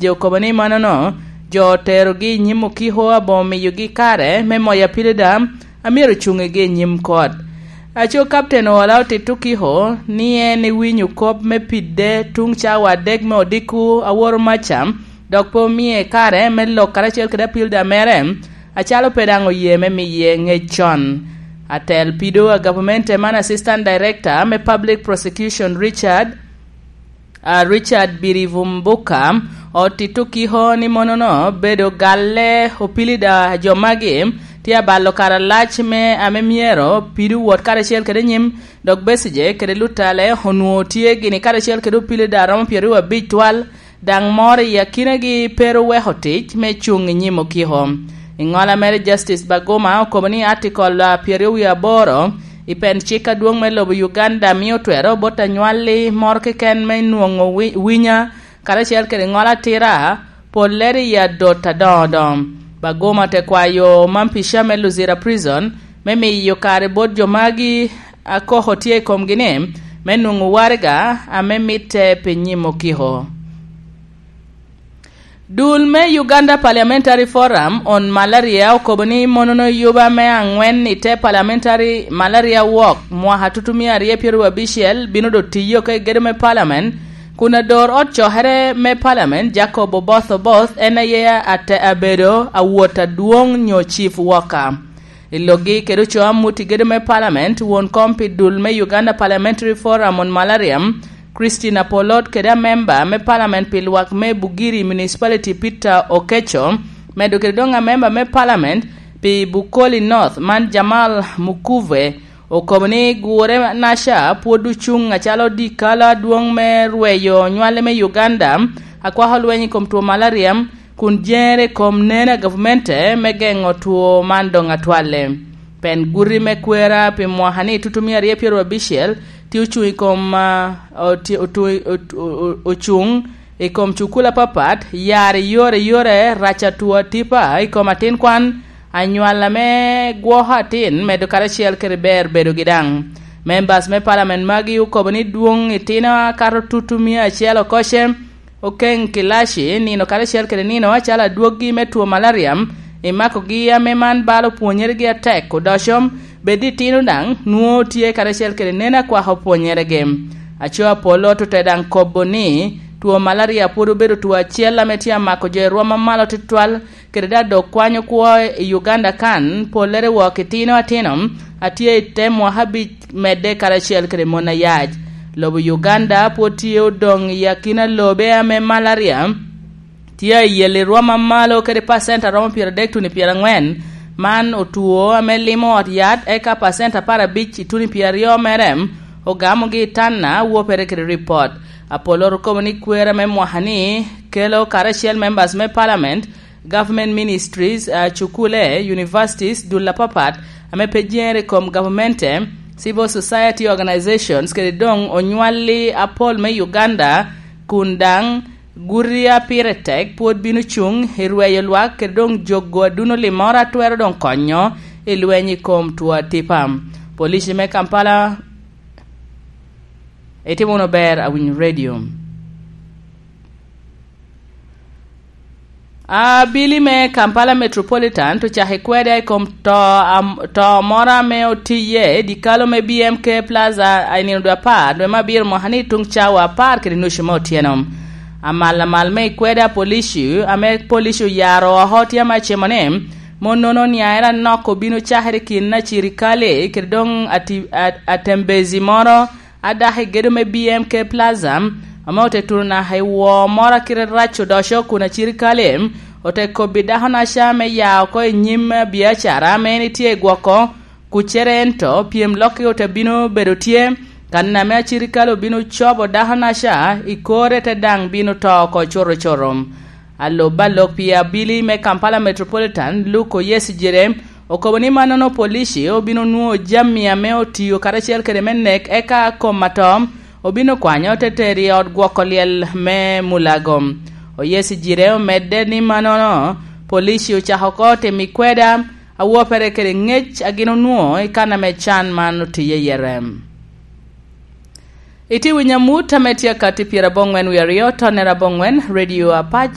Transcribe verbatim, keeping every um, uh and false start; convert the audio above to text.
Jo okobo ni mannono, jo oterogi i nyim okiko aboŋo miyogi kare me moyo apilida a myero ocuŋigi i nyim kot. Aco Kapten Owola otito okiko ni en ewinyo kop me pide tuŋ cawa adek me odiko aworo maca, dok pe omie kare me lok karacel kede apilida mere, acalo pe daŋ oye me miye ŋec con. Atel pido a gavamente man, Assistant Director me Public Prosecution, Richard a Richard Birivumbuka, otito kiko ni monono bedo galle opilida a jo magi tye abalo kare alac me ame myero pido wot karacel kede nyim, dok Besigye kede Lutale onwoŋo tye gini karacel kede opilida a romo pyeraryo abic twal, daŋ moro i akinagi pe oweko tic me cuŋ i nyim okiko. I ŋola mere, Justice Baguma okobo ni atikol a pyeraryo wie aboro i pen cik adwoŋ me lobo Uganda mio twero bot anywalli moro keken me nwoŋo wi-, winya, karacel kede ŋolo atira, pollere i adot adoŋo doŋo. Baguma te kwayo omampica me Luzira Prison me miyo kare bot jo magi a koko tye i komgi ni me nwoŋo waraga ame mitte pi nyim okiko. Dul me Uganda Parliamentary Forum on Malaria okobo ni monono yuba me aŋwen i te Parliamentary Malaria Walk mwaka tutumia aryo pyeraryo abicel bino doŋ tiyo oko i gedo me Parliament, kun ador ot cokere me Parliament, Jacob Oboth Oboth, en aye ate abedo awot adwoŋ nyo chief worker. I lokgi kede ocoo amut i gedo me Parliament, won kom pi dul me Uganda Parliamentary Forum on Malaria, Christine Apolot, kede amemba me Parliament pi lwak me Bugiri Municipality, Peter Okecho, medo kede doŋ amemba me Parliament pi Bukoli North man, Jamal Mukuve, okobo ni gure naca pwod ocuŋ acalo dikalo adwoŋ me rweyo nywale me Uganda, akwako lweny i kom two malaria, kun jere i kom neno a gavmente me geŋo two man doŋ atwalle. Pen guti me kwera pi mwaka ni tutumia aryo pyeraryo abicel tye ocuŋ i kom, ah, oti-, otu-, otu-, o-, ocuŋ i kom cukul apapat, yar i yore yore, rac atwo atipa i kom atin kwan, anywal ame gwoko atin, medo karacel kede ber bedogi daŋ. Members me Parliament magi okobo ni dwoŋ itino akato tutumia acel okoce, Okeŋ Kilaci, nino karacel kede nino acalo adwoggi me two malaria, i makogi ame man balo pwonyeregi atek odoco, bed itino daŋ nwoŋo tye karacel kede neno akwako pwonyeregi. Aco Apollo ote daŋ kobo ni two malaria pwod obedo two acel ame tye amako jo i rwom amalo tutwal, kede daŋ dok kwanyo kwo i Uganda kan, pollere wok itino atino a tye i te mwaka abic medde karacel kede mon ayac. Lobo Uganda pwod tye odoŋ i akina lobe ame malaria tye ayel i rwom amalo kede pacent aromo pyeradek tuno i pyeraŋwen. Man otwo ame limo ot yat, eka pacent apar abic i tuno i pyeraryo mere ogamogi i tanna, wopere kede ripot. Apollo okobo ni kwera me mwaka-ni kelo karacel members me parliament, government ministries, ah, cukule, universities, dul apapat ame pe jere i kom gavamente, civil society organizations, kede doŋ onywalli apol me Uganda, kun daŋ guti a pire tek pwod bino cuŋ i rweyo lwak kede doŋ jogo aduno limmoro a twero doŋ konyo i lweny i kom two atipa. Police me Kampala, itimo wunu ber awinyo radio. Abili me Kampala Metropolitan ocako kweda i kom to, am-, to moro ame otiye i dikalo me B M K Plaza i nino dwe apar dwe me abiro mwaka ni tuŋ cawa apar kede nucu me otyeno. Amal amal me ikweda polici, ame polici oyaro oko tye ame acimo ni, mon nono niaere anok obino cakere i kin acirikale kede doŋ ati-, a-, atembezi moro a dako i gedo me B M K Plaza, ame ote tuno naka i woo moro a kite rac odoco kun acirikale ote kobbi dako-naca me ya oko i nyim biacara ame en itye i gwoko kucere, ento pyem lokki ote bino bedo tye, kan ame acirikale obino cobo dako-naca i kore te daŋ bino to oko coro-coro. Alub alok pi abili me Kampala Metropolitan, Luke Oyesijire, okobo ni mannono polici obino nwoŋo jami ame otiyo karacel kede me nek, eka kom atoo obino kwanyo te tero i ot gwoko lyel me Mulago. Oyesijire omedde ni mannono polici ocako oko timo ikweda awopere kede ŋec a gin onwoŋo i kan ame can man otiye iye rem. Itye winyo amut ame tye akatti pyeraboŋwen wie aryo, tonnere aboŋwen, Radio Apac,